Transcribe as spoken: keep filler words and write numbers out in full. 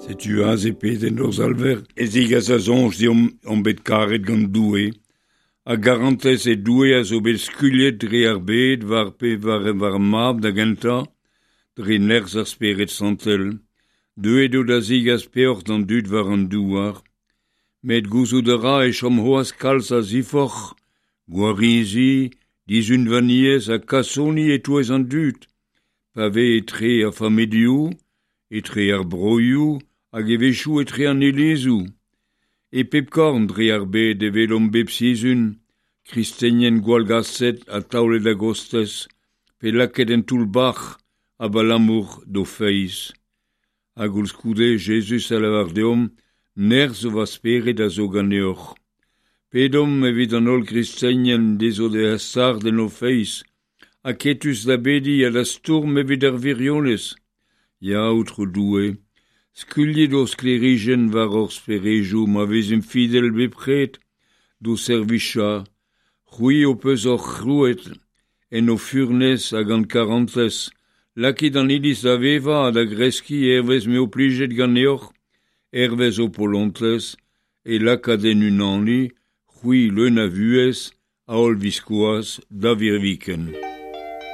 Setu aze pedenn hor Salver e zigas a soñj deomp omp bet karet gant Doue, a garantez e Doue a zo bet skuilhet dre ar bed war pe war, war mab da gentañ, dre nerzh ar Spered Santel, deuet eo da zigas peoc'h d'an dud war an douar, met gouzout a ra e chom c'hoazh kalz a ziforc'h, gwarizi, dizunvaniezh ha kasoni e-touez an dud, pa vez etre ar familhoù, etre ar broioù hag a-wechoù etre an ilizoù. E pep korn dre ar bed e welomp bep sizhun, kristenien gwallgaset ha taolet a-gostez, pe lakaet en toull-bac'h abalamour d'o feiz. Ha koulskoude Jezuz a lavar deomp, nerzh va spered a zo ganeoc'h. Pedomp evit an holl gristenien dezho da stard en o feiz, aketus da bediñ ha da stourm evit ar wirionez. Ya, Aotrou Doue, skuilhit ho sklêrijenn war hor speredoù ma vezimp fidel bepred d'ho servijañ, c'hwi ho peus hor c'hrouet en ho furnez hag gant karantez, lakit an Iliz da vevañ ha da greskiñ hervez m'eo plijet ganeoc'h, hervez ho polontez, e lakaat en unaniñ, c'hwi leun a vuhez, a holl-viskoazh, da virviken.